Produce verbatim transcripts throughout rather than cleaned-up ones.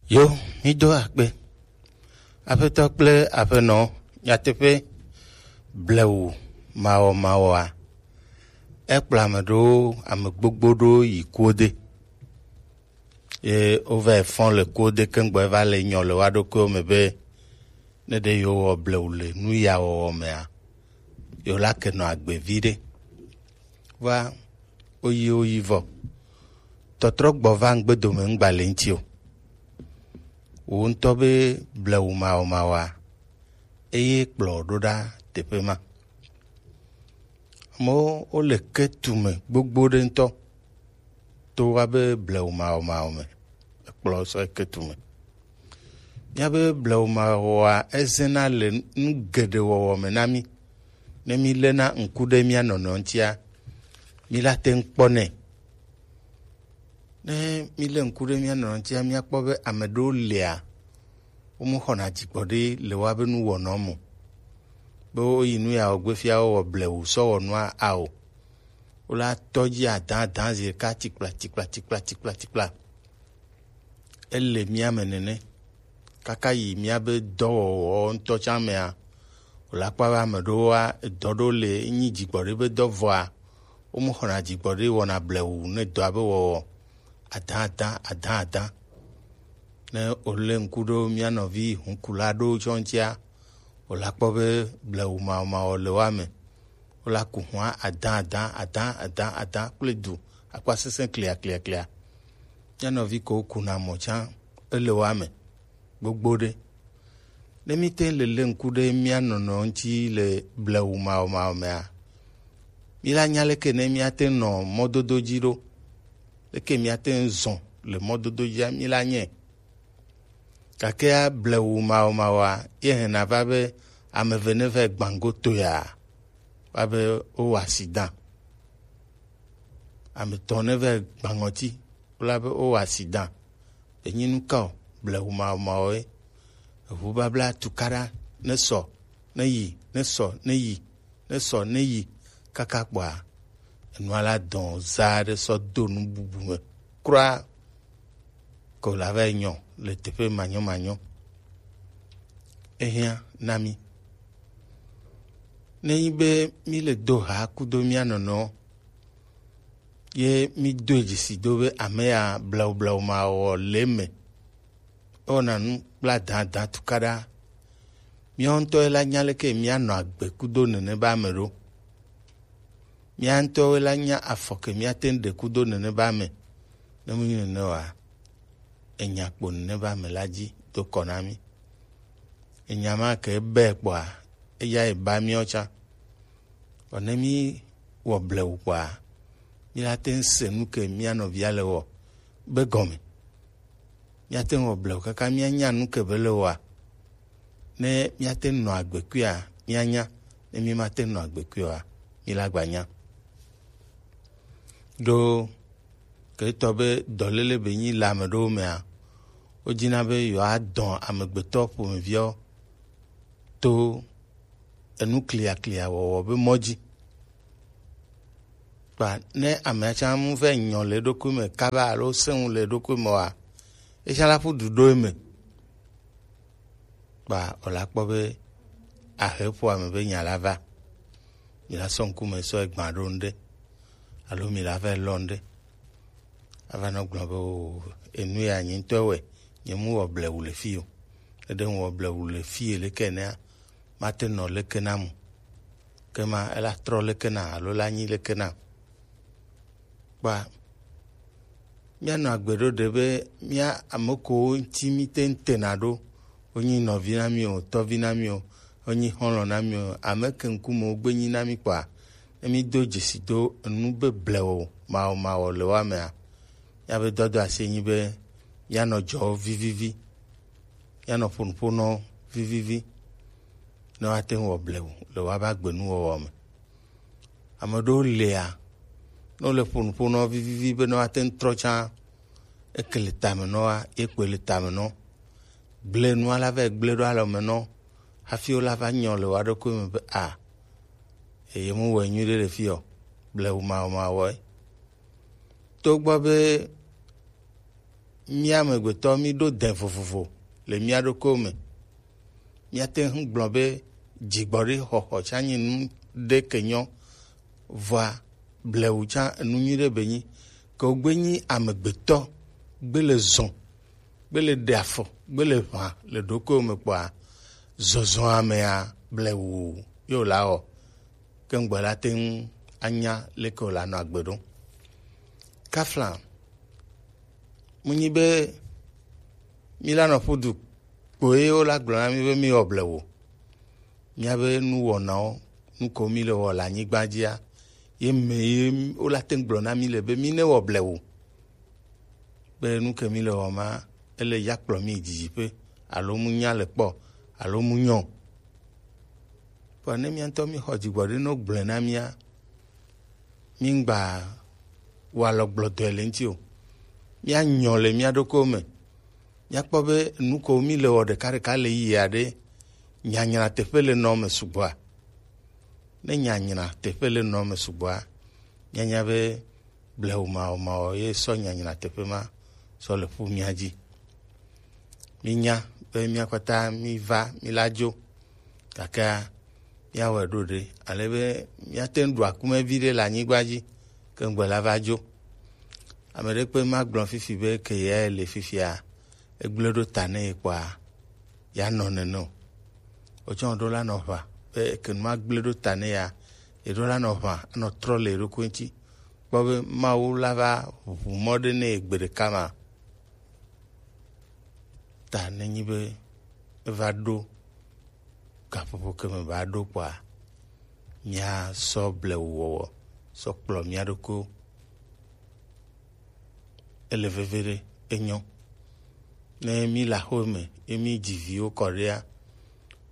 Yo, mi do akpe. Aƒetɔ kple aƒenɔ, nyateƒe, blewu mawɔmawɔa, ekplɔ ame ɖewo, ame gbogbo ɖewo yi kuwo de. Ye wova yi fɔ le kuwo de keŋ gbɔ, eva le nyɔ le woa ɖokuiwo me be, ne ɖe yewowɔ blewu le nu ya wɔwɔ mea, yewo la ke nɔ agbe viɖe. Va, woyi, woyi vɔ. Tɔtrɔ gbɔ va ŋgbe dome ŋgba le ŋuti o. Wò ŋutɔ be blewu mawɔmawɔa, eye kplɔ ɖo ɖa teƒe ma. Amewo, wole ke tu me gbogbo ɖe ŋutɔ. To woabe blewu mawɔmawɔ me, ekplɔ sɔ ke tu me. Míabe blewu mawɔa, ezena le nu geɖe wɔwɔ me na mí. Ne míléna ŋku ɖe mía nɔnɔ ŋutia, míla te ŋu kpɔ nɛ. Ne mílé ŋku ɖe mía nɔnɔ ŋutia, míakpɔ be ame ɖewo lia, womexɔna dzigbɔɖi le woabe nuwɔnawo me o. Be woyi nu ya wɔ gbe fia wowɔ blewu sɔ wɔ nua ao. Wola tɔ dzi adã adã zi ɖeka tikpla tikpla tikpla tikpla tikpla. Ele mía me nene. Kaka yi míabe dɔwɔwɔ ŋutɔ tsã mea, wòla kpɔ be ame ɖewoa, edɔ ɖewo le nyi dzigbɔɖi be dɔ vɔa, womexɔna dzigbɔɖi wɔna blewu ne dɔa be wɔwɔ adã adã adã adã. Ne wòlé ŋku ɖo mía nɔvi hukula ɖewo tsɔ ŋutia, wòla kpɔ be blewu mawɔmawɔ le woa me. Wola ku hua adã adã adã adã adã kple du akpa sesẽ klia klia klia. Mía nɔvi kewo kuna mɔ tsã, ele woa me gbogbo ɖe. Ne míte le lé ŋku ɖe mía nɔnɔ ŋuti le blewu mawɔmawɔ mea, míla nya leke ne míate nɔ mɔdodo dzi ɖo, leke míate zɔn le mɔdodo dzia, míla nyɛ. Gakea blewu mawɔmawɔa, ye hɛna va be ame eve ne va gbãgo toya, va be wowa accident. Ame etɔ̃ ne va gbãŋɔti, wola be wowa accident. Enyi nu ka o, blewu mawɔmawɔ ye. Eʋu babla tukaɖa, ne sɔ, ne yi, ne sɔ, ne yi, ne sɔ, ne yi, kaka kpɔa, enua la dɔn za ɖe sɔ do nu bubu me kura. Ko la va yi nyɔ le teƒe manyɔmanyɔ. Ehiã na mí. Ne nyi be mí le do ha kudo mía nɔnɔ, ye mí doe dzesi do be ame ya blewu blewu mawɔ le eme. Ewɔna nu kple adã adã tukaɖa. Míawo ŋutɔ ye la nya leke míanɔ agbe kudo nene be ame ɖo. Mía ŋutɔwoe la nya afɔ ke míate ŋu ɖe kudo nene be ame. Ne menye nene oa, enya kpo nene be ame la dzi do kɔ na mí. Enya ma ke be kpɔa, eya ye ba míawo tsã. Vɔ ne mí wɔ blewu kpɔa, mí la te ŋu se nu ke mía nɔvia le wɔ be gɔme. Míate ŋu wɔ blewu kaka míanya nu ke be le wɔa. Ne míate ŋu nɔ agbe kuia, míanya. Ne mí mate ŋu nɔ agbe kuia oa, mí la gba nya. Ɖo ke tɔ be dɔléle be nyi le ame ɖewo mea, wodina be yewoadɔ amegbetɔ ƒomeviawo to enu kliaklia wɔwɔ be mɔ dzi. Kpa ne amea tsã mu vɛ nyɔ le eɖokui me kaba alo sẽ ŋu le eɖokui me oa, etsã la ƒu du ɖo eme. Kpa wòla kpɔ be ahe ƒo ame be nya la va. Mi la sɔ ŋkume sɔ egbã ɖo ŋɖe. Alo mi la va lɔ ŋɖe. Ava nɔ gblɔ be o, enu ya nye ŋutɔ wɛ, nye mu wɔ blewu le fi o. Eɖe ŋu wɔ blewu le fi leke nea, mate nɔ leke na mu. Ke ma ela trɔ leke na alo la nyi leke na. Kpa míanɔ agbe ɖo ɖe be mía ame kowo ŋuti míte ŋu tena ɖo. Wonyi nɔvi na mí o, tɔvi na mí o, wonyi xɔlɔ̃ na mí o, ame ke ŋkume wogbe nyi na mí kpɔa, ne mído dzesi do enu be blewu mawɔmawɔ le woa mea, míabe dɔdɔ asi nyi be míanɔ dzɔwo vivivi, míanɔ ƒonuƒonɔwo vivivi, ne woate ŋu wɔ blewu le woabe agbenuwɔwɔ me. Ame ɖewo lia, ne wole ƒonuƒo nɔ vivivi be ne woate ŋu trɔ tsã, eke le tame nɔ wa, ye kpoe le tame nɔ. Gblẽ nua la va gblẽ ɖo alɔme nɔ, hafi wola va nyɔ le woa ɖokui me be a, eye mu wɔe nyuiɖe le fi o, blewu mawɔmawɔe. Togbɔ be mía amegbetɔ mí ɖo dɛn vovovo le mía ɖokuiwo me. Míate ŋu gblɔ be dzigbɔɖi xɔxɔ tsã nyi nu ɖe ke nyɔ, vɔa blewu tsã enu nyui ɖe be nyi. Ke wogbe nyi amegbetɔ, gbe le zɔn, gbe le ɖe afɔ, gbe le ʋã le ɖokuiwo me kpɔa, zɔzɔa mea blewu ye wòla wɔ. Ke ŋgbɔ la te ŋu anya leke wòla nɔ agbe ɖo. Kafla, mu nyi be mí la nɔ ƒu du kpoe wola gblɔ na mí be mí wɔ blewu. Míabe nuwɔnawo, nu ko mí le wɔ le anyigba dzia, ye me ye wola te ŋu gblɔ na mí le be mí ne wɔ blewu. Be nu ke mí le wɔ ma, ele ya kplɔ mí yi didiƒe, alo mu nya le kpɔ, alo mu nyɔ. Vɔ ne mía ŋutɔ mí xɔ dzigbɔɖi no gblɔe na mía, mí ŋgba wɔ alɔ gblɔdɔe le ŋuti o. Mía nyɔ le mía ɖokuiwo me. Míakpɔ be nu ko mí le wɔ ɖekaɖeka le yi aɖe, nyanyra teƒe le nɔ me sugbɔa? Ne nyanyra teƒe le nɔ me sugbɔa, míanya be blewu mawɔmawɔ ye sɔ nyanyra teƒe ma sɔ le ƒu mía dzi. Mínya be mía kpata mí va, mí la dzo, gakea míawɔe ɖo ɖe, ale be míate ŋu ɖu akume vi ɖe le anyigba dzi, ke ŋgbe la va dzo. Ame ɖe kpe magblɔ fifi be ke ya le fifia, egblẽ ɖo ta ne ye kpɔa, ya nɔ nene o. Wotsɔ ɖo la nɔ ʋã, be ke nu magblẽ ɖo ta ne ya, ye ɖo la nɔ ʋã, anɔ trɔ le ye ɖokui ŋuti. Kpɔ be Mawu la va ʋu mɔ ɖe ne ye gbe ɖeka ma. Ta nenyi be eva ɖo gaƒoƒo ke me va ɖo kpɔa, míasɔ blewu wɔwɔ sɔ kplɔ mía ɖokuiwo. Ele veve ɖe, enyɔ. Ne mí le aƒe me ye mí dzi viwo kɔ ɖea,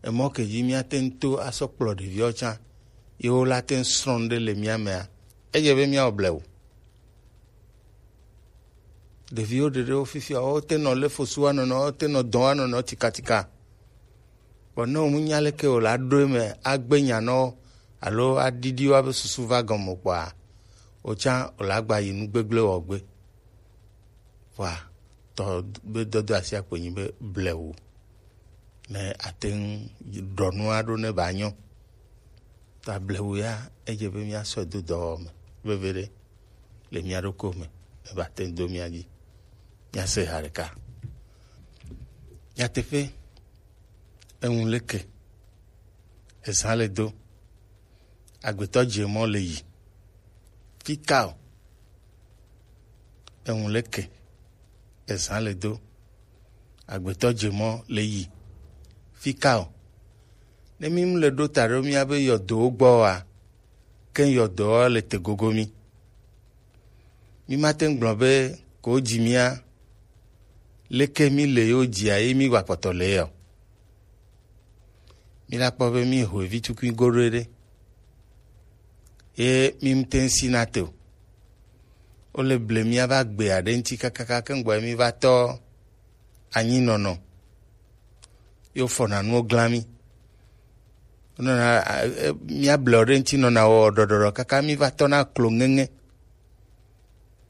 emɔ ke dzi míate ŋu to asɔ kplɔ ɖeviwo tsã, ye wo la te ŋu srɔ̃ nu ɖe le mía mea, edze be míawɔ blewu. Ɖeviwo ɖeɖewo fifia, wote nɔ lé fosu wa nɔnɔ, wote nɔ dɔn wa nɔnɔ tikatika. Vɔ ne wòmu nya leke wòle aɖo eme agbe nya na wo alo aɖiɖi woabe susu va gɔme o kpɔa, wò tsã wòle agba yi nu gbegblẽ wɔ gbe. Vɔa, tɔ be dɔdɔ asi akpo nyi be blewu. Ne ate ŋu ɖɔ nu aɖo ne ba nyɔ. Ta blewu ya, edze be míasɔe do dɔwɔwɔ me veve ɖe le mía ɖokuiwo me, ne ba te ŋu do mía dzi. Míase ha ɖeka. Nyateƒe, eŋu leke, ezã le do, agbetɔ dze mɔ le yi. Fika o, eŋu leke, ezã le do, agbetɔ dze mɔ le yi. Fika o, ne mí mu le ɖo ta ɖo míabe yɔdowo gbɔ oa, ke yɔdowo le te gogo mí. Mí mate ŋu gblɔ be ko dzi mía, leke mí le yewo dzia ye mí wa kpɔtɔ le yɔ. Mí la kpɔ be mí ho evi tukui goɖoe ɖe. Ye mí mte ŋu si na te o. Wole ble mía va gbe aɖe ŋuti kakaka ke ŋgbɔ mí va tɔ anyinɔnɔ. Yo fɔna nuwo glã mí. Wonɔna, a, e, mía ble ɖe ŋuti nɔna wɔ ɖɔɖɔɖɔ kaka mí va tɔna klo ŋeŋe.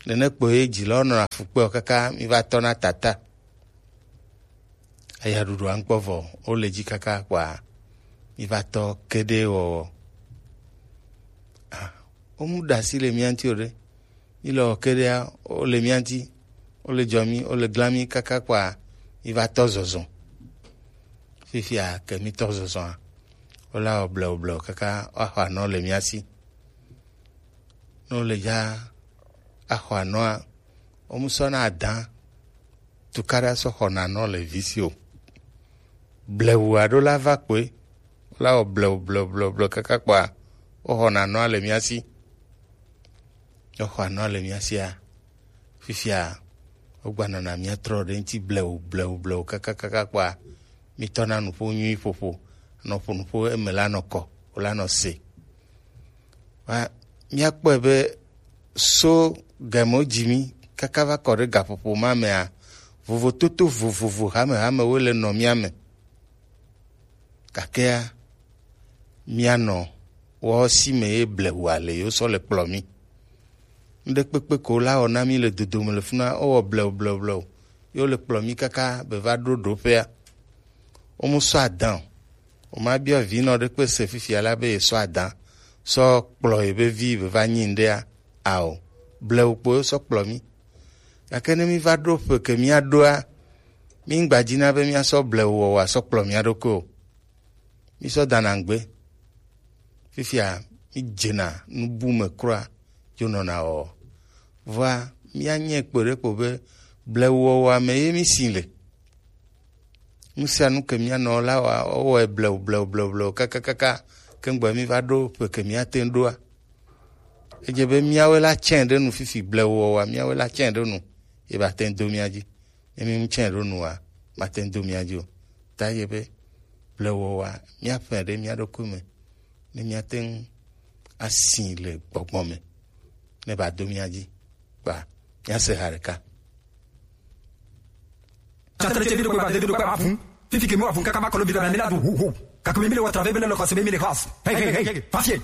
Nene kpoe dzilawo nɔna fu kpe o kaka mí va tɔna tata. Aya ɖuɖua ŋkpɔ vɔ, wole dzi kaka kpɔa, mí va tɔ keɖe wɔwɔ. Ah, womu ɖe asi le mía ŋuti o ɖe. Mí le wɔ keɖea, wole mía ŋuti, wole dzɔ mí, wole glã mí kaka kpɔa, mí va tɔ zɔzɔ. Fifia ke mí tɔ zɔzɔa, wola wɔ blewu blewu kaka woaxɔ anɔ le mía si. Ne wole dza axɔ anɔa, womu sɔna adã tukaɖa sɔ xɔna anɔ le vi si o. Blewu aɖo la va kpoe, wola wɔ blewu blewu blewu blewu kaka kpɔa, woxɔna anɔa le mía si. Ne woxɔ anɔa le mía sia, fifia wogbanɔna mía trɔ ɖe ŋuti blewu blewu blewu kaka kaka kpɔa, mí tɔna nuƒo nyui ƒoƒo, nɔ ƒo nuƒo eme la nɔ kɔ, wola nɔ se. Wa, míakpɔe be so game wodzi mí kaka va kɔ ɖe gaƒoƒo ma mea, vovototo vovovo hamehame woe le nɔ mía me. Gakea, míanɔ woawo si me ye blewu ale yewo sɔ le kplɔ mí. Ŋɖe kpekpe ko la wɔ na mí le dodome le funa, wowɔ blewu, blewu, blewu. ye wo le kplɔ mi kaka be va ɖo ɖoƒea. Wo mu sɔ adan o. O ma biɔ vi nɔ ɖe kpe se fifia la be ye sɔ adan sɔ kplɔ ye be vi be va nyi ŋɖea? Ao, blewu kpo ye sɔ kplɔ mi. Gake ne mi va ɖo ƒe ke mia ɖoa, mi ŋgba dzi na be mia sɔ blewu wɔwɔa sɔ kplɔ mia ɖokui o. Mi sɔ dana ŋgbe. Fifia mi dzena nubu me kura dzo nɔna wɔwɔ. Vɔa mia nyɛ kpe ɖe kpo be blewu wɔwɔa me ye mi si le. Nu sia nu ke mia nɔ la wa wɔwɔe blewu blewu blewu blewu kakakaka ke ŋgbe mi va ɖo ƒe ke mia te ŋu ɖoa. Edze be miawoe la tsɛ ɖe nu fifi blewu wɔwɔa miawoe la tsɛ ɖe nu ye ba te ŋu do mia dzi. Ne mi ŋu tsɛ ɖo nua, mate ŋu do mia dzi o. Ta ye be blewɔwɔa, míaƒle ɖe mía ɖokui me ne míate ŋu asi le gbɔgbɔ me ne ba do mia dzi kpa míase ha ɖeka. Tsatele tse vi ɖokui ba de vi ɖokui ba ʋu. Fifi ke mi wa ʋu kaka ma kɔlo vi ɖo na mi la du hu hu. Kakumi mi le wa travail be le le xɔse be mi le xɔse. Hey hey hey, fafie.